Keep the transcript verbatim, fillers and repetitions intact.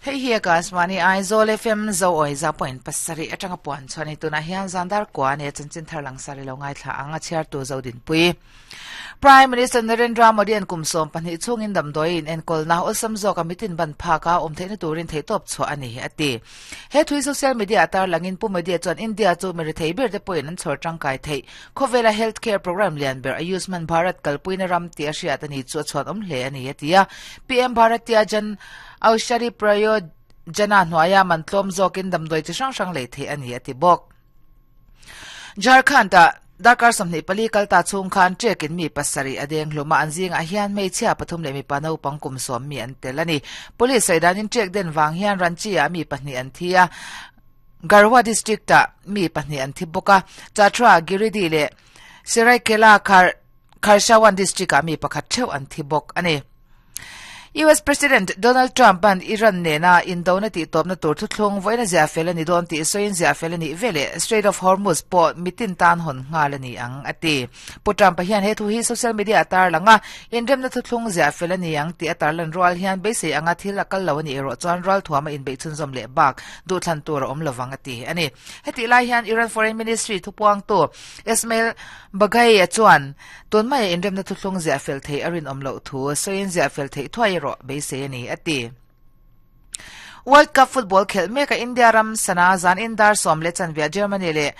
Hei hi Akashvani Aizawl F M zo oi za point pasarih atanga puan chuan tuna hian zandar kwa ne chanchin thar lang sari lo ngai thla anga chhiar tu zo din pui. Prime Minister Narendra Modi an kumsom pahnih chungin damdawiin enkawl na awlsam zawk a mitin ban phaka awm theihna turin theihtawp chhuah a ni a ti. He thui social media atar langin Pu Modi chuan India chu mi rethei ber te pawhin an chhawr tangkai thei. Khawvela healthcare program lian ber Ayushman Bharat kalpuina ram ti a hriat ani chu a chhuan awm hle ani a ti a. P M Bharatiya Jan Aushadhi Prayojana hnuaia man tlawm zawkin damdawi chi hrang hrang lei thei ani a ti bawk. Jharkhand ah Darkar sawmhnih pali kalta chhung khan trekin mi pasarih a deng hluma an zingah hian hmeichhia pathum leh mipa naupang kum sawm mi an tel ani. Police saidanin trek den wang hian Ranchi ah mi pahnih an thi a. Garhwa district ah mi pahnih an thi bawk a. Chatra Giridi leh Seraikela Khar Kharshawan district ah mi pakhat theuh an thi bawk ani. U S President Donald Trump an Iran nena indona ti tawpna tur thuthlung voina zia fel ani dawn tih sawiin zia fel ani vele Strait of Hormuz pawh mitin tan hawn nghal ani ang a ti. Pu Trump hian he thu hi social media atar langa inremna thuthlung zia fel ani ang tih atar lan rual hian beisei anga thil a kal lo ani erawh chuan ral thuama inbeih chhunzawm leh bak duhthlan tur a awm lovang a ti ani. Heti lai hian Iran Foreign Ministry thupuang tu Ismail Baghai chuan tun mai inremna thuthlung zia fel thei a rin awm loh thu sawiin zia fel thei thuai ro beisei ani a ti. World Cup football khel meka India ram sana zan indar som le chanvia Germany le